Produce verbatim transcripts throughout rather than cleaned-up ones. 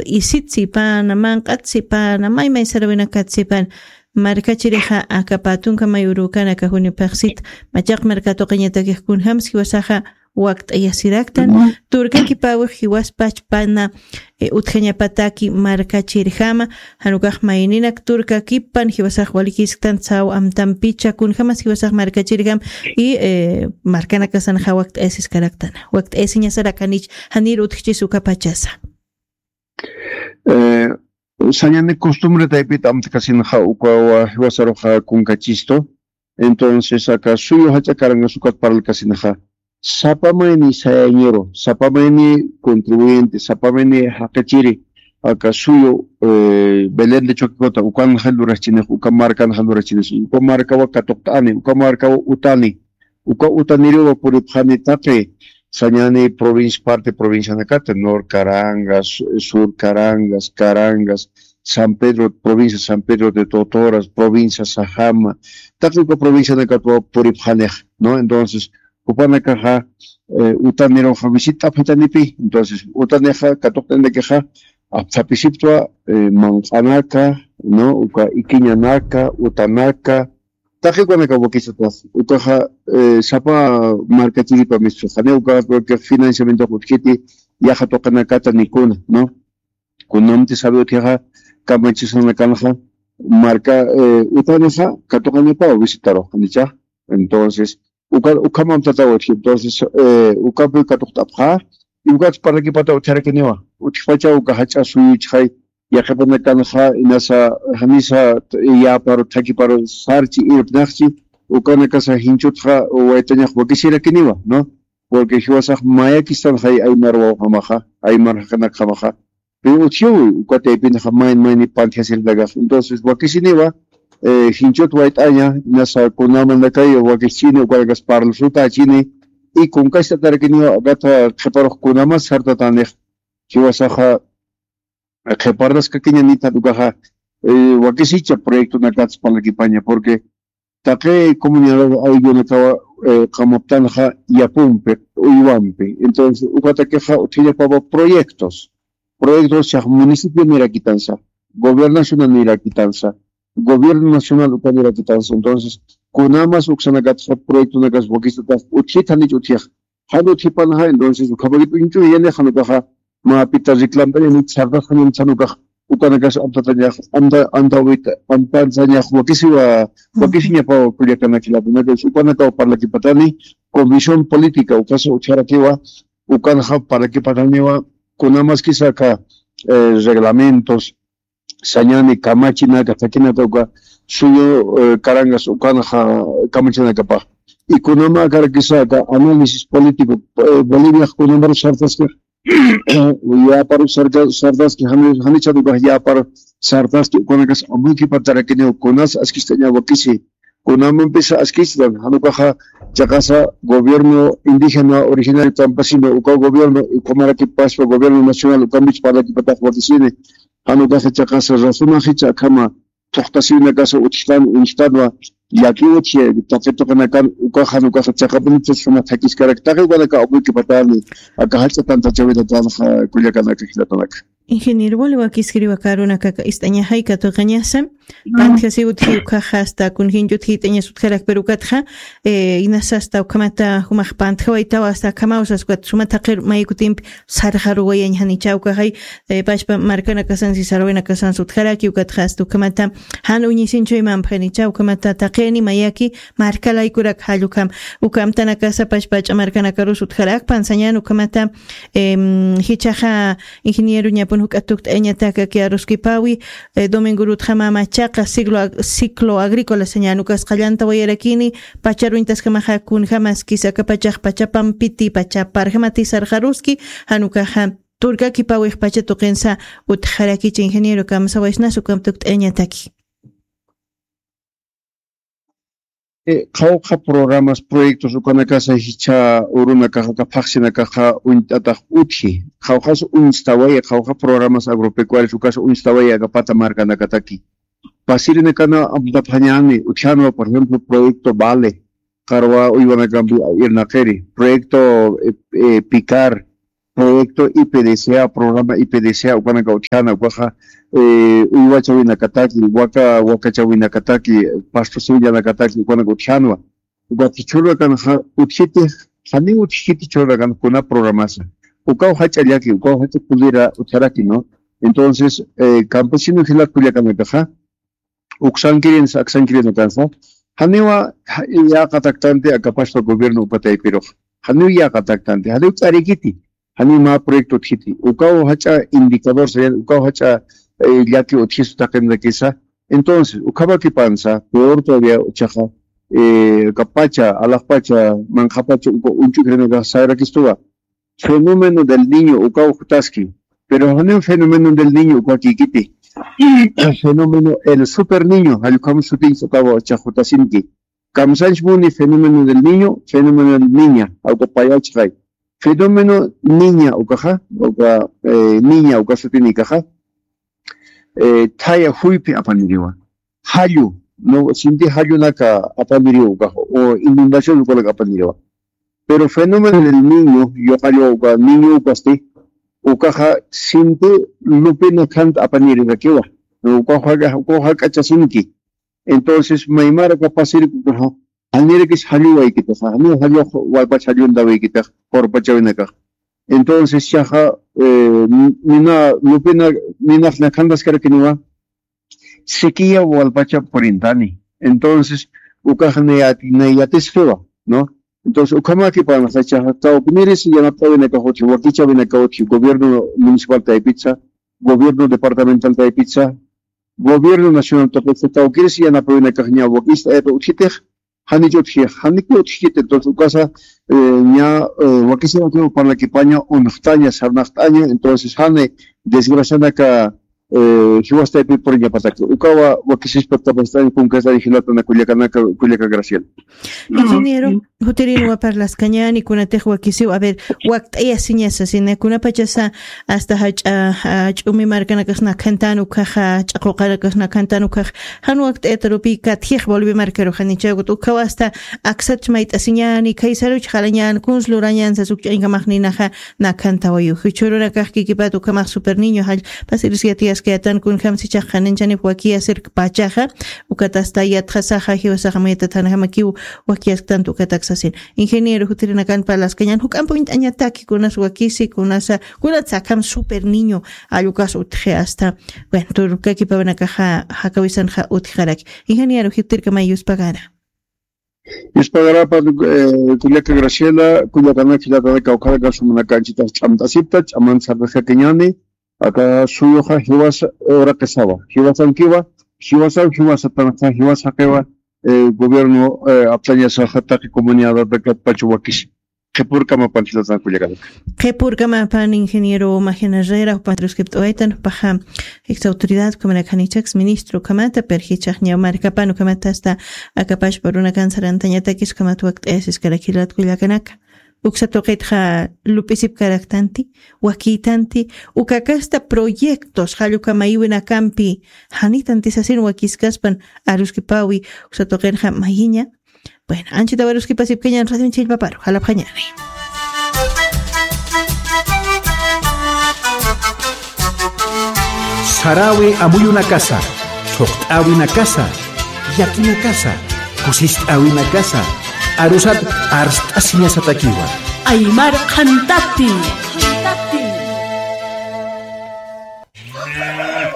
isit sipana, manq'at sipana, maymay sarawinakat sipana. Markachirixa aka patunka may urukan aka junipaxsit, machaq markatuqiñatakix kunjams jiwasaxa wakt'ayasiraktan, turkakipawix jiwaspach pana, eh, utjañapataki markachirjama, janukax mayninak turkakipan jiwasax walikisktan saw amtampicha, kunjamas jiwasax markachirjam, y, eh, markanakasanxa wakt'ayasiskaraktana, wakt'ayasiñasarakanich, janir utjchis uka pachasa. Eh, sañani costumbre taypit amtkasinxa ukawa jiwasaruxa kunkachistu. Entonces, aka suyu jach'a karangas ukat parlkasinxa. Sapa mayni sayañiru, sapa mayni contribuyente, sapa mayni jaqachiri, aka suyu, eh, Belén de Choquicota, ukanxa lurachinix, uka markanxa lurachinix, uka markawa katuqt'ani, uka markawa utani, uka utaniriwa puripxani taqi, sañani provincia, parte provincianakata, Nor Carangas, Sur Carangas, Carangas, San Pedro, provincia San Pedro de Totoras, provincia Sajama, taqi uka provincianakatwa puripxanix, ¿no? Entonces, jupanakaxa, eh, utaniruxa visit'apxitanipi, entonces, utanixa, katuqt'anirakixa, apthapisiptwa, eh, manq'anaka, ¿no? Uka ikiñanaka, utanaka, taqi ukanaka wakisatwa, ukaxa, eh, sapa markachiripa mischuxani, uka, uka financiamiento utjiti, yaxa tuqinakata nikuna, ¿no? Kunamti sabe utjixa, kamachisanakanxa, marka, eh, utanixa, katuqañapaw visitaruxanicha. Entonces, uka, ukhamam tataw utji. Entonces, eh, ukapi katuqt'apxa, y ukat parlakipata utjarakiniwa. Utjpacha uka jach'a suyuchxay, yaqipanakanxa, inasa, janisa, t-, yaparu, thakiparu, sarchi, irpnaxchi, ukanakasa jinchutxa, waytañax wakisirakiniwa, ¿no? Porque jiwasax mayakistanxay aymar wawjamaxa, aymar jaqinakjamaxa. Pero utjiw, uka taypinxa mayn mayni pantjasirinakax. Entonces, wakisiniwa, eh, jinchut wayt'aña, inasa kunamanakay wakischini, ukanakas parlsutächini, y kunkast'atarakiniwa, akata qhiparux kunamas sartatanix, jiwasaxa, qhiparnaskakiñanita ukaxa, eh, wakisicha proyectonakats parlakipaña, porque taqi comunidad ayllunakawa, eh, qamaptanxa yapumpi, uywampi. Entonces, ukatakixa utjiñapapa proyectos. Proyectos chax municipio nirakitansa, gobernación nirakitansa, gobierno nacional uka nirakitansa. Entonces, kunamas uksanakatxa proyectonakas wakisatax utjithanich utjixa. Jan utjipanxa, entonces, ukhamakit uñch'uyani, jan ukaxa, mä pita reclamtañani, sartasxañani, jan ukax, ukanakas amtatañax, amta, amtawit, amtansañax, wakisiwa, wakisiñapaw kullakanakilapuna, entonces, ukanakaw parlakipatani, comisión política, ukasa utjarakiwa, ukanxa parlakipataniwa, kunamaskisa aka, eh, reglamentos, sañani kamachinaka, thakinaka uka suyu, eh, karangas ukanxa kamachinakapax. Y kunama akarakisa aka análisis político, eh, Boliviax kunamaru sartaski, yaparu sarka-, sartaski, jani-, janichar ukax yaparu sartaski, ukanakas amuykipataraki, kunas askistaña wakisi, kunamampisa askistan, jan ukaxa chiqasa gobierno indígena originario campesino, uka gobierno, ukhamaraki paspa gobierno nacional, ukamich parlakipatax wakisini, jan ukaxa chiqasa razonaxicha akhama, thuqtasiwinakasa utjtan, uñjtanwa, llaki utji, taqi tuqinakan, ukaxa, jan ukaxa chiqapunichas jama thakiskaraki, taqi ukanaka amuykipatani, aka jach'a tantachawinakanaxa, kullakanaka, jilatanaka. Ingeniero, wali wakiskiriwa karunakaka ist'añaxay katuqañasa, pantjasiw utji ukaxa hasta kun jinchut jit'añas utjarak, pero ukatxa, eh, inasa hasta ukhamata jumax pantjawaytawa hasta akhamaw sas ukat suma thaqir may kutimpi sarxaruwayañ janicha ukaxay, eh, pachpa markanakasansi sarwinakasansi utjaraki ukatxa hasta ukhamata jan uñisinchuymampxanicha ukhamata taqini mayaki markalaykurak jall ukham, uka amtanakasa pachpa jach'a markanakarus utjarakpan sañan ukhamata, em, jichhaxa Ingeniero, ñapun juk'a tukt'ayañatak aka aruskipawi, eh, domingo urutxa mä machaqa ciclo ag-, ciclo agrícola sañan ukas qallanta wayarakini, pacha uñtaskamaxa kunjamaskis aka pachax pachapampiti, pachaparjamati sarxaruski, jan ukaxa turkakipawix pacha tuqinsa utjarakichi, ingeniero, kamsawaysnas ukham tukt'ayañataki. Eh, qhawqha programas, proyectos ukanakasa jichha urunakaxa, aka phaxsinakaxa uñt'atax utji. Qhawqhas uñstawaya, qhawqha programas agropecuarios ukasa uñstawaya aka pata markanakataki. Pasirinakana amtapxañäni, utjänwa, por ejemplo, proyecto Vale, qarwa uywanakampi irnaqiri, proyecto, eh, eh, Picar, proyecto I P D C A, programa I P D C A, ukanaka utjana, ukaxa, eh, uywachawinakataki, waka, wakachawinakataki, pasto siwillanakataki, ukanaka utjanwa. Uka chururakanxa utjiti, janiw utjiti chururakan kuna programasa. Ukaw jach'a llaki, ukaw jach'a kulira utjaraki, ¿no? Entonces, eh, campesino jilat kullakanakaxa, uksankirinsa, aksankirinsa. Janiwa, ja-, yäqataktanti akapaspa gobierno uka taypirux. Janiw yäqataktanti, janiw ch'arikiti, janiw mä proyecto utjiti. Ukaw jach'a indicador sayan, ukaw jach'a, eh, llaki utjisu taqinakisa. Entonces, ukhamakipansa, peor todavía, uchaxa, eh, kapacha, alaxpacha, manqhapacha, uka uñch'ukirinakax sayrakistuwa. Fenómeno del Niño, ukaw jutaski. Pero janiw fenómeno del Niño, uka kikiti. Fenómeno el Super Niño, jallukam sutinsa ukaw chax jutasinki. Kamsanch muni fenómeno del Niño, fenómeno del Niña, awka payachxay. Fenómeno Niña ukaxa, uka, eh, Niña uka sutinikaxa, eh, thaya juyphi apaniriwa. Jallu, no, sinti jallunaka apaniriwa ukaxa, o inundación ukanaka apaniriwa. Pero fenómeno del Niño, yuqallu uka Niño ukasti, ukaxa sinti lupina khanta apanirirakiwa. No, ukaxa, ukaxa k'achasinki. Entonces, maymara kapasirki ukaxa, janirakis jalluwaykitaxa, janiw jallu walpach jalluntawikitax, qurpachawinakax. Entonces, chaxa, eh, nina, lupina, ninax nakhantaskarakiniwa, sikiya walpacha purintani. Entonces, ukax nayati-, nayatiskiwa, ¿no? Entonces, ukhamakipanxa chaxa, kawkniris yanapt'awinakax utji, wakichawinakax utji, gobierno municipal taypitsa, gobierno departamental taypitsa, gobierno nacional taypitsa, kawkiris yanapawinakax ña wakist'ayata utjitix, janich utji, janiki utjkiti, entonces, ukasa, eh, ña, eh, wakisiwakiw parlakipaña, uñxtaña, sarnaqt'aña, entonces, jani desgracianaka, eh, jiwastaypi puriñapataki. Ukawa wakisispa tapastan kunkasari jilatana kullakanaka, kullaka Graciela. Ingeniero, jutirinwa parlaskañäni, kunatix wakisiw, a ver, wakt'ayasiñasa, sina kunapachasa hasta jach'a, ah, ch'umi markanakax nakhantan ukaxa, ch'aquqanakax nakhantan ukax, jan wakt'ayatarupi katjix Bolivia markaru janichawkut, ukawa hasta aksat mayt'asiñäni, khaysaruch jalañän, kuns lurañän sas uk ch'añkamax ninaxa, nakhantawayu. Jichhürunakax kikipat ukhamax Super Niño jall, pasiris yatiyaskayätan kunjamsi chax qhaninchhanip wakiyasirk pachaxa, ukat hasta yatxasaxa, jiwasaxa maytat janjamakiw wakiyasktanti ukatak sasin. Ingeniero, jutirinakan parlaskañän, juk'amp uñt'añataki, kunas wakisi, kunasa, kunatsa akham Super Niño, jall ukas utji hasta, bueno, turkakipawinakaxa, jakawisanxa utjaraki. Ingeniero, jutirkamay yuspagara. Yuspagarapa, eh, kullaka Graciela, kullakanaka, jilatanaka, kawkharaka, sumanaka, anchitas ch'amt'asipta, ch'aman sarnaqakiñäni, aka suyuxa jiwas uraqisawa, jiwasankiwa, jiwasan, jiwasatanaka, jiwas jaqiwa, eh, gobierno, eh, aptañasaxa taqi comunidadata katpachu wakisi. Qhipürkamapan jilatan kullakanaka. Qhipürkamapan ingeniero Magdalena Herrera, jupax tuskipt'awaytan, jupaxa ex autoridad, ukhamanakanichaks ministro ukhamata, pero jichhax ñaw markapan ukhamata hasta akapachpa runakan sarantañatakis ukhamat wakt'ayasiskarak jilat kullakanaka. Uksa tuqitxa lup'isipkaraktanti, wakïtanti, ukakasta proyectos jall uka mayiwinakampi janitanti sasin wakiskaspan aruskipawi, uksa tuqinxa mayiña, bueno, anchita waruskipasipkañän radio chillpaparu, jalapxañäni. Saräwi amuyunakasa, thuqt'äwinakasa, llakinakasa, kusist'äwinakasa, arusat arst'asiñasatakiwa. Aymar qhantati.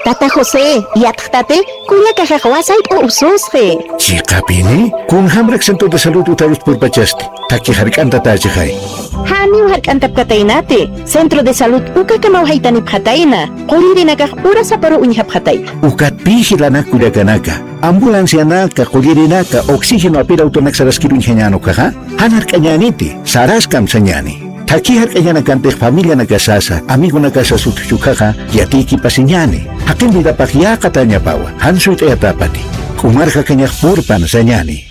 Tata José, yatxtati, kullakaxax wasayt'u ususxi. Chiqapini, kunjamrak centro de salud utarus purpachasti, thakhi jark'antatächixay. Janiw jark'antapkataynati, centro de salud ukakamaw jaytanipxatayna, qullirinakax urasaparu uñjapxatayna. Ukatpï jilanak kullakanaka, ambulancianaka, qullirinaka, oxígeno apir autonak saraskir uñjañän ukaxa, jan jark'añäniti, saraskam sañäni. Thakhi jark'añanakantix familianakasasa, amigonakasasa utjchi ukaxa, yatiykipasiñäni. Jaqin vidapax yäqatäñapawa, jan suyt'ayatäpati. K'umarjakañax purpan sañäni.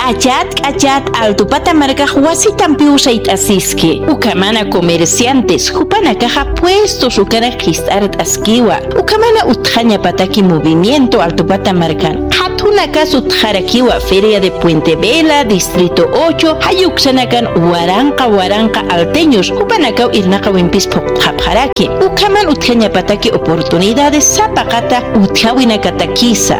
K'achat, k'achat, Altupata markax wasitampiw sayt'asiski. Ukhamana comerciantes, jupanakaxa puestos ukanak jist'art'askiwa. Ukhamana utjañapataki movimiento Altupata markan. Qhat Kunakas utjarakiwa Feria de Puente Vela, Distrito ocho, jayuksanakan waranqa waranqa alteños, jupanakaw irnaqawimpis phuqtxapxaraki. Ukhaman utjañapataki oportunidades sapaqata utjawinakatakisa.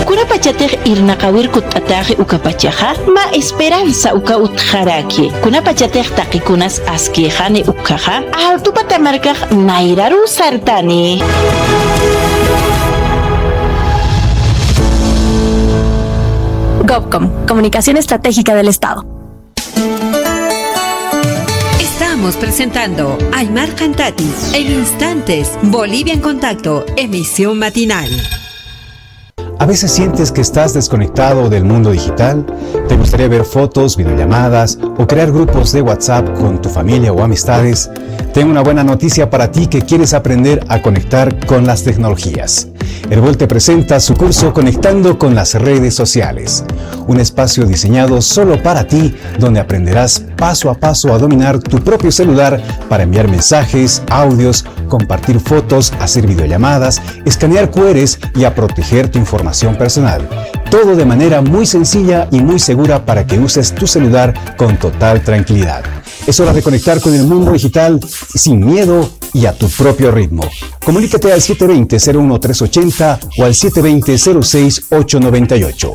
Kunapachatix irnaqawir kutt'ataxi ukapachaxa, mä esperanza uka utjaraki. Kunapachatix taqikunas askïxani ukhaxa, Altupata markax nayraru sartani. Gobcom, Comunicación Estratégica del Estado. Estamos presentando Aymar Cantati en instantes, Bolivia en Contacto, emisión matinal. ¿A veces sientes que estás desconectado del mundo digital? ¿Te gustaría ver fotos, videollamadas o crear grupos de WhatsApp con tu familia o amistades? Tengo una buena noticia para ti que quieres aprender a conectar con las tecnologías. Erbol te presenta su curso Conectando con las redes sociales, un espacio diseñado solo para ti, donde aprenderás paso a paso a dominar tu propio celular para enviar mensajes, audios, compartir fotos, hacer videollamadas, escanear Q Rs y a proteger tu información personal. Todo de manera muy sencilla y muy segura para que uses tu celular con total tranquilidad. Es hora de conectar con el mundo digital sin miedo y a tu propio ritmo. Comunícate al siete veinte, cero uno, tres ochenta o al siete veinte, cero seis, ocho noventa y ocho.